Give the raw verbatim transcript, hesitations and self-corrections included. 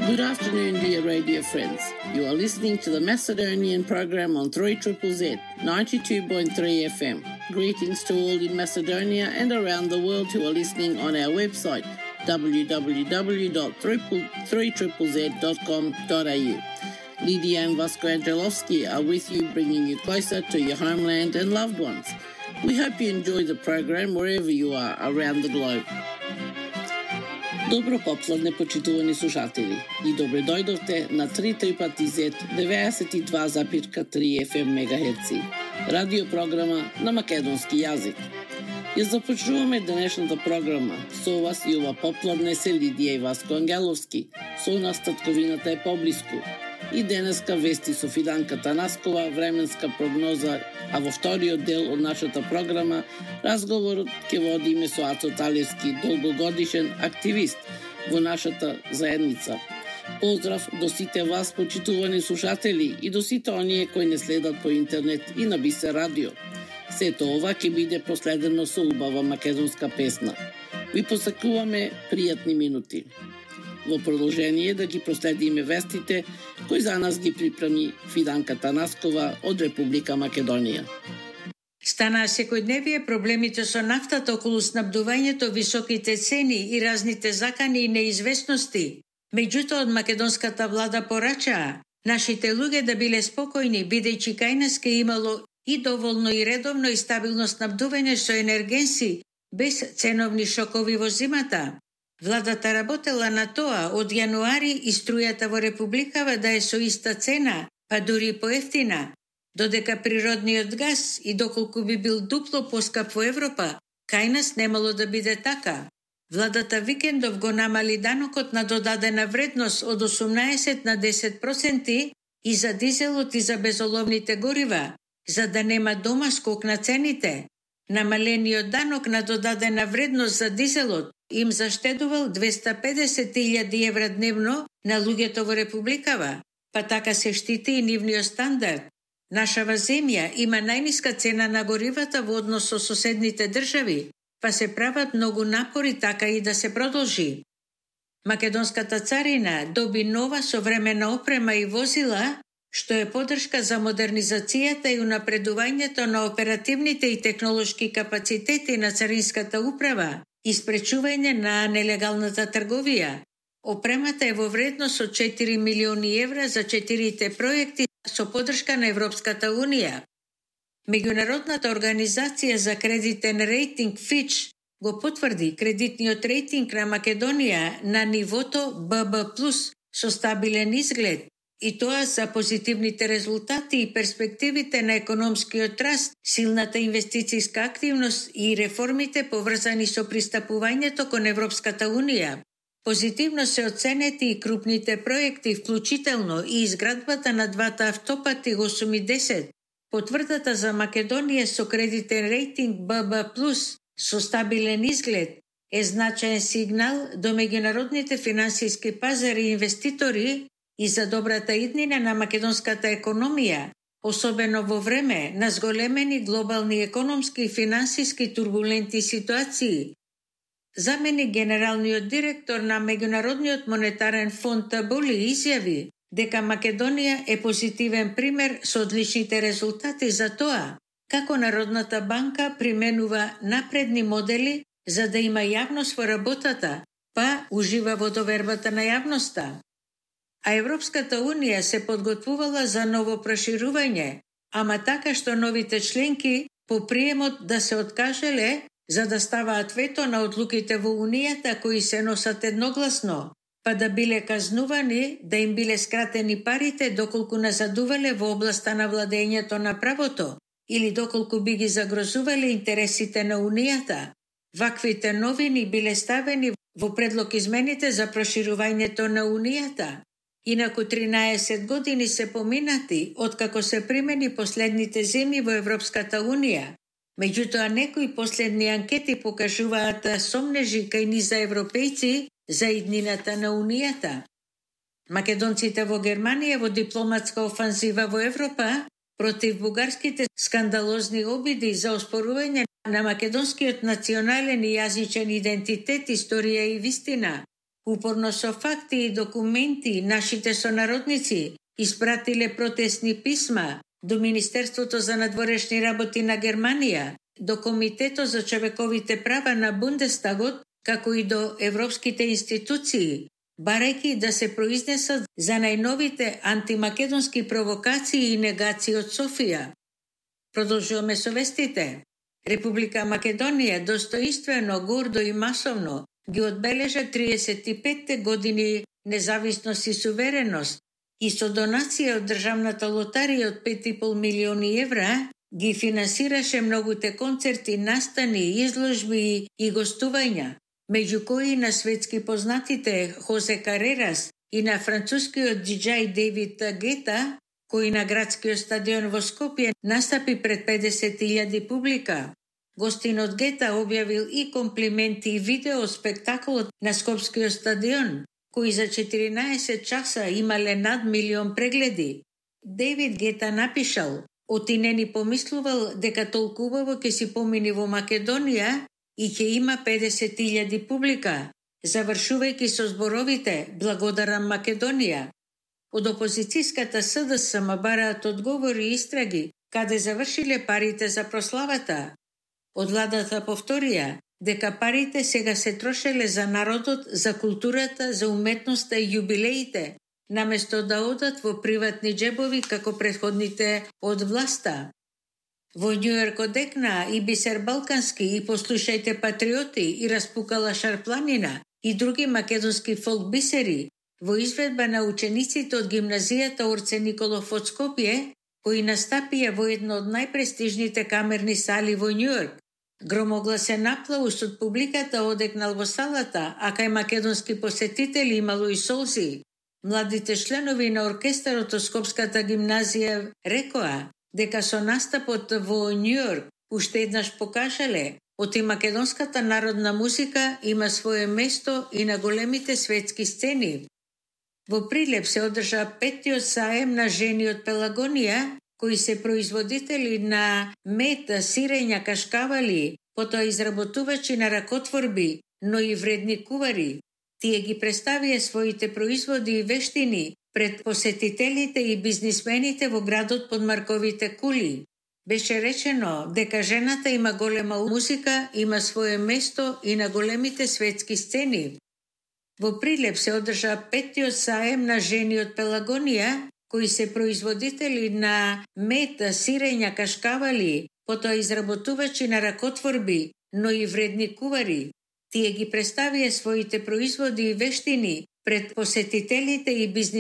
Good afternoon, dear radio friends. You are listening to the Macedonian program on three Z Z Z, ninety-two point three F M. Greetings to all in Macedonia and around the world who are listening on our website, w w w dot three z z dot com dot a u. Lydia and Vasco Angelovski are with you, bringing you closer to your homeland and loved ones. We hope you enjoy the program wherever you are around the globe. Добро попладне, почитувани слушатели, и добре дојдовте на три Z Z деветдесет и два запирка три F M мегахерци, радиопрограма на македонски јазик. Ја започнуваме денешната програма. Со вас и ова попладне се Лидија и Васко Ангеловски. Со нас татковината е поблиску. И денеска вести со Фиданка Танаскова, временска прогноза, а во вториот дел од нашата програма разговорот ќе водиме со Ацо Талевски, долгогодишен активист во нашата заедница. Поздрав до сите вас, почитувани слушатели, и до сите оние кои не следат по интернет и на Бисер радио. Сето ова ќе биде проследено со убава македонска песна. Ви посакуваме пријатни минути. Во продолжение да ги проследиме вестите кои за нас ги припреми Фиданка Танаскова од Република Македонија. Станаа секојдневие проблемите со нафтата околу снабдувањето, високите цени и разните закани и неизвестности. Меѓутоа, од македонската влада порачаа нашите луѓе да биле спокојни, бидејќи кај нас ке имало и доволно и редовно и стабилно снабдување со енергенси, без ценовни шокови во зимата. Владата работела на тоа од јануари и струјата во републикава да е со иста цена, па дури поевтина, додека природниот газ и доколку би бил дупло поскап во Европа, кај нас немало да биде така. Владата викендов го намали данокот на додадена вредност од осумнаесет на десет проценти и за дизелот и за безоловните горива, за да нема дома скок на цените. Намалениот данок на додадена вредност за дизелот им заштедувал двеста педесет илјади евра дневно на луѓето во републикава, па така се штити и нивниот стандард. Нашава земја има најниска цена на горивата во однос со соседните држави, па се прават многу напори така и да се продолжи. Македонската царина доби нова современа опрема и возила, што е поддршка за модернизацијата и унапредувањето на оперативните и технолошки капацитети на царинската управа и спречување на нелегалната трговија. Опремата е во вредност од четири милиони евра за четирите проекти со поддршка на Европската унија. Меѓународната организација за кредитен рейтинг Fitch го потврди кредитниот рейтинг на Македонија на нивото Б Б плюс со стабилен изглед, и тоа за позитивните резултати и перспективите на економскиот раст, силната инвестицијска активност и реформите поврзани со пристапувањето кон Европската унија. Позитивно се оценети и крупните проекти, вклучително и изградбата на двата автопати осум и десет. Потврдата за Македонија со кредитен рейтинг Б Б плюс со стабилен изглед е значаен сигнал до меѓународните финансиски пазари и инвеститори и за добрата иднина на македонската економија, особено во време на зголемени глобални економски и финансиски турбулентни ситуации. Замени генералниот директор на Меѓународниот монетарен фонд Табули изјави дека Македонија е позитивен пример со одличните резултати за тоа како Народната банка применува напредни модели за да има јавност во работата, па ужива во довербата на јавноста. А Европската унија се подготвувала за ново проширување, ама така што новите членки по приемот да се откажеле за да ставаат вето на одлуките во Унијата кои се носат едногласно, па да биле казнувани да им биле скратени парите доколку назадувале во областа на владењето на правото или доколку би ги загрозувале интересите на Унијата. Ваквите новини биле ставени во предлог измените за проширувањето на Унијата. Инаку тринаесет години се поминати откако се примени последните земји во Европската унија. Меѓутоа, некои последни анкети покажуваат сомнежи кај низа европејци за иднината на Унијата. Македонците во Германија во дипломатска офанзива во Европа против бугарските скандалозни обиди за оспорување на македонскиот национален и јазичен идентитет, историја и вистина, Упорно со факти и документи нашите сонародници испратиле протестни писма до Министерството за надворешни работи на Германија, до Комитетот за човековите права на Бундестагот, како и до европските институции, барајќи да се произнесат за најновите антимакедонски провокации и негации од Софија. Продолжуваме со вестите. Република Македонија достоинствено, гордо и масовно ги одбележа триесет и петте години независност и сувереност и со донација од државната лотарија од пет и пол милиони евра ги финансираше многуте концерти, настани, изложби и гостувања, меѓу кои на светски познатите Хосе Карерас и на францускиот диџеј Дейвид Гета, кој на градскиот стадион во Скопје настапи пред педесет илјади публика. Гостинот Гета објавил и комплименти и видео спектаколот на Скопскиот стадион, кои за четиринаесет часа имале над милион прегледи. Дейвид Гета напишал: "Оти не ни помислувал дека толку убаво ќе си помини во Македонија и ќе има педесет илјади публика", завршувајќи со зборовите "Благодарам Македонија". Од опозицијската СДСМ бараат одговори и истраги каде завршиле парите за прославата. Од владата повторија дека парите сега се трошеле за народот, за културата, за уметноста и јубилеите, наместо да одат во приватни джебови како претходните од власта. Во Њујорк одекна и Бисер Балкански и Послушајте патриоти и Распукала Шарпланина и други македонски фолк бисери во изведба на учениците од гимназијата Орце Николов од Скопје, кои настапија во едно од најпрестижните камерни сали во Њујорк. Громогласен аплауз од публиката одекнал во салата, а кај македонски посетители имало и солзи. Младите членови на оркестарот од Скопската гимназија рекоа дека со настапот во Њујорк уште еднаш покажале оти македонската народна музика има свое место и на големите светски сцени. Во Прилеп се одржа петтиот саем на жени од Пелагонија, кои се производители на мед, сирења, кашкавали, потоа изработувачи на ракотворби, но и вредни кувари. Тие ги представија своите производи и вештини пред посетителите и бизнисмените во градот под марковите кули. Беше речено дека жената има голема музика, има свое место и на големите светски сцени. Во Прилеп се одржа петтиот саем на жени од Пелагонија, кои се производители на мед, сирења, кашкавали, потоа изработувачи на ракотворби, но и вредни кувари. Тие ги представија своите производи и вештини пред посетителите и бизнисмените